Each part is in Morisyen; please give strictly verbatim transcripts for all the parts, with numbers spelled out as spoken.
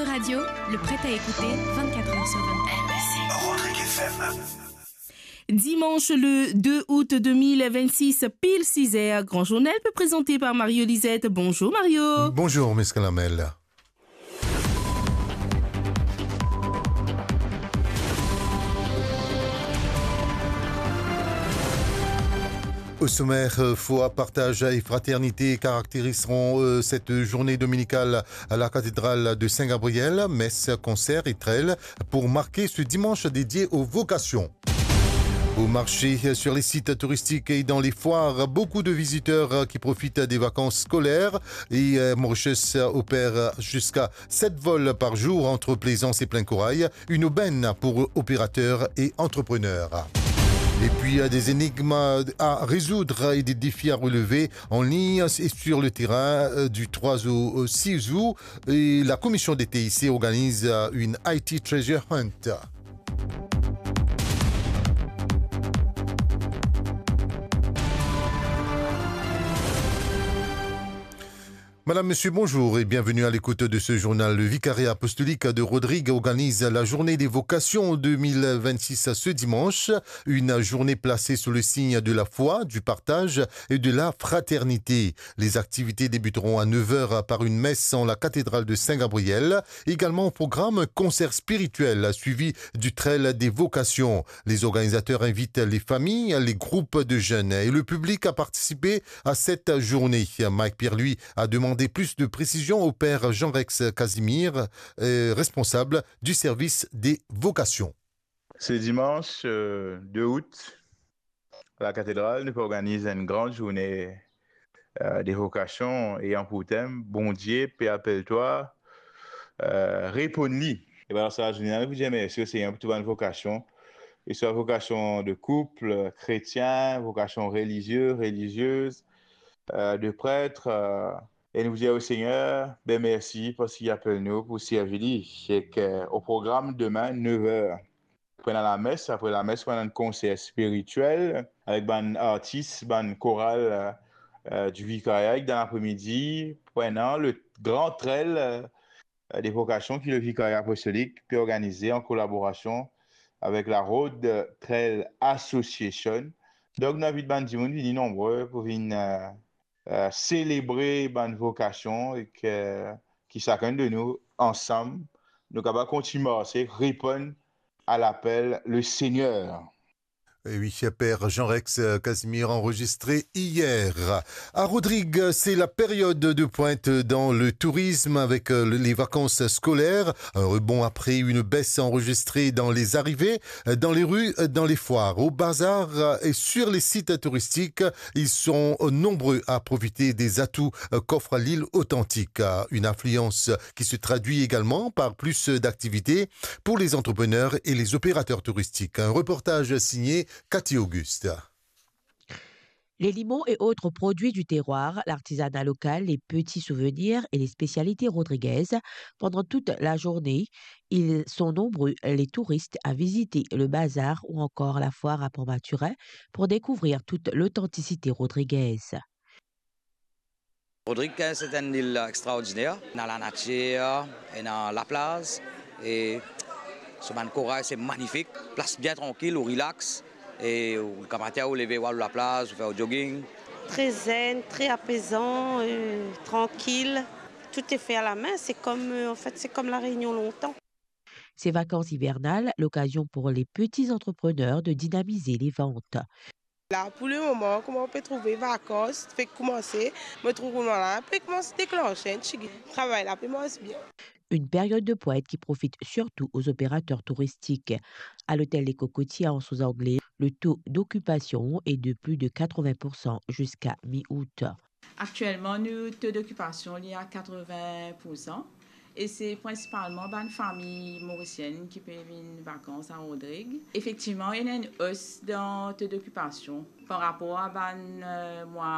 Radio, le prêt à écouter vingt-quatre heures sur vingt-quatre. Rodrigue F M. Dimanche le deux août deux mille vingt-six, pile six heures, grand journal peut présenté par Mario Lisette. Bonjour Mario. Bonjour, Miss Kalamel. Au sommaire, euh, foi, partage et fraternité caractériseront, euh, cette journée dominicale à la cathédrale de Saint-Gabriel. Messe, concert et trail pour marquer ce dimanche dédié aux vocations. Au marché, sur les sites touristiques et dans les foires, beaucoup de visiteurs qui profitent des vacances scolaires et, euh, Mauritius opère jusqu'à sept vols par jour entre Plaisance et Plein Corail, une aubaine pour opérateurs et entrepreneurs. Et puis, euh, des énigmes à résoudre et des défis à relever en ligne et sur le terrain, euh, du trois au six août. Et la commission des T I C organise, euh, une I T Treasure Hunt. Madame, Monsieur, bonjour et bienvenue à l'écoute de ce journal. Le Vicariat apostolique de Rodrigue organise la journée des vocations deux mille vingt-six ce dimanche. Une journée placée sous le signe de la foi, du partage et de la fraternité. Les activités débuteront à neuf heures par une messe en la cathédrale de Saint-Gabriel. Également au programme, un concert spirituel suivi du trail des vocations. Les organisateurs invitent les familles, les groupes de jeunes et le public à participer à cette journée. Mike Pierre-Louis a demandé plus de précision au père Jean-Rex Casimir, euh, responsable du service des vocations. Ce dimanche, euh, deux août, à la cathédrale, nous organisons une grande journée, euh, des vocations ayant pour thème Bondie pe apel twa, euh, reponn li. E bann sa, nou pou dir mersi o Segner pou tou bann vokasion, ke swa vokasion de koup, kretien, vokasion relizie, reliziez, euh, de pret, euh, e nou dir o Segner, be mersi parski li apel nou pou servi li. Ek o program demin, nev er, pou ena lames, apre lames pou ena enn konser spiritiel avek bann artis, bann koral, euh, du Vicariat, ek dan lapre midi pou ena le gran trail, euh, de vokasion ki le Vicariat Apostolik pe organize an kolaborasion avek la Road Trail Association. Donk, nou invit bann dimoun vini nonbre pou vinn, euh, euh, selebre bann vokasion ek, euh, ki sakenn de nou, ansam, nou kapav kontign marse, reponn a lapel le Segner. Et oui, père Jean-Rex Casimir enregistré hier. À Rodrigues, c'est la période de pointe dans le tourisme avec, euh, les vacances scolaires. Un rebond après une baisse enregistrée dans les arrivées, dans les rues, dans les foires, au bazar et sur les sites touristiques. Ils sont nombreux à profiter des atouts, euh, qu'offre l'île authentique. Euh, une affluence qui se traduit également par plus d'activités pour les entrepreneurs et les opérateurs touristiques. Un reportage signé Cathy Auguste. Les limons et autres produits du terroir, l'artisanat local, les petits souvenirs et les spécialités rodriguaises. Pendant toute la journée, ils sont nombreux, les touristes, à visiter le bazar ou encore la foire à Port Mathurin pour découvrir toute l'authenticité rodriguaise. Rodrig, se enn lil extraordiner. Ena lanatir, ena laplaz, e so bann koray se manifik. Plas bien trankil, ou relax, e ou gramatin ou leve, ou al laplaz, ou fer ou jogging. Très zen, très apaisant, euh, tranquille. Tout est fait à la main. C'est comme, euh, en fait, c'est comme La Réunion longtemps. Ces vacances hivernales, l'occasion pour les petits entrepreneurs de dynamiser les ventes. La, pou le moman, kouma ou pe trouve vakans fek koumanse, mo trouv kouma la pe koumans deklanse enn tigit. Travay la pe mars bien. Une période de pointe qui profite surtout aux opérateurs touristiques. À l'hôtel Les Cocotiers à Anse aux Anglais, le taux d'occupation est de plus de quatre-vingts pour cent jusqu'à mi-août. Aktielman, nou to dokipasion li a katreven pour san, e se prinsipalman bann fami morisienn ki pe vinn vakans a Rodrig. Efektivman, ena enn os dan to dokipasion par rapor a bann, euh, mwa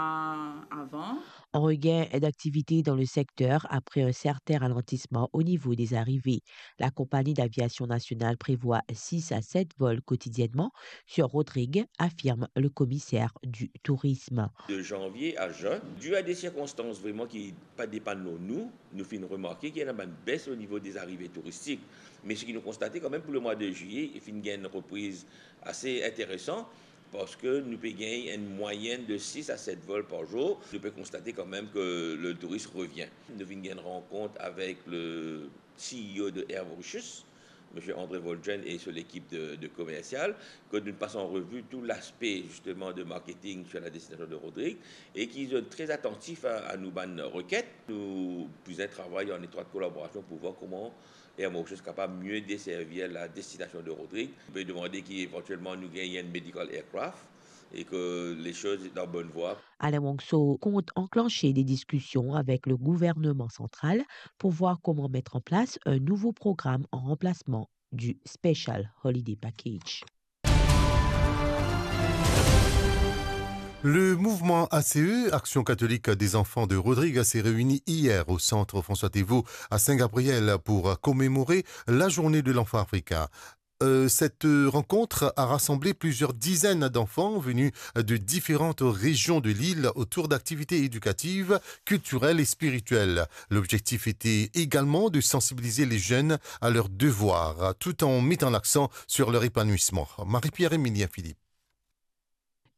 avan. Un regain d'activité dans le secteur après un certain ralentissement au niveau des arrivées. La compagnie d'aviation nationale prévoit six à sept vols quotidiennement sur Rodrigues, affirme le commissaire du tourisme. De janvier à juin, dû à des circonstances vraiment qui pa depann lor nou, nou finn remarke ki ena bann bes o nivo des arrivées touristiques. Me seki nou konstate kanmem pou lemwa de zilye, li finn gagn enn repriz ase interesan, parski nou pe gagn enn mwayenn de six à sept vols par jour. Nou pe konstate kanmem ke le touris revien. Nou vinn gagn rankont avek le C E O de Air Mauritius, Monsieur André Volgen et son équipe de, de commercial, que nous passons en revue tout l'aspect justement de marketing sur la destination de Rodrigues et qu'ils sont très attentifs à, à nos bannes requêtes. Nous faisons un travail en étroite collaboration pour voir comment Air Mauritius est capable de mieux desservir la destination de Rodrigues. On peut demander qu'éventuellement nous gagnons un medical aircraft et que les choses sont en bonne voie. Alain Wangso compte enclencher des discussions avec le gouvernement central pour voir comment mettre en place un nouveau programme en remplacement du Special Holiday Package. Le mouvement A C E, Action Catholique des Enfants de Rodrigues, s'est réuni hier au centre François Théveaud à Saint-Gabriel pour commémorer la journée de l'enfant africain. Euh, cette, euh, rencontre a rassemblé plusieurs dizaines d'enfants venus de différentes régions de l'île autour d'activités éducatives, culturelles et spirituelles. L'objectif était également de sensibiliser les jeunes à leurs devoirs, tout en mettant l'accent sur leur épanouissement. Marie-Pierre-Emilien Philippe.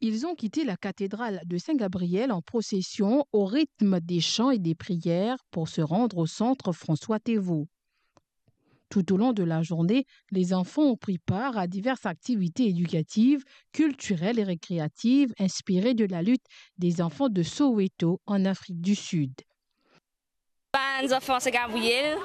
Ils ont quitté la cathédrale de Saint-Gabriel en procession au rythme des chants et des prières pour se rendre au centre François Théveaud. Tout au long de la journée, les enfants ont pris part à diverses activités éducatives, culturelles et récréatives inspirées de la lutte des enfants de Soweto en Afrique du Sud. Bann zanfan Saint-Gabriel,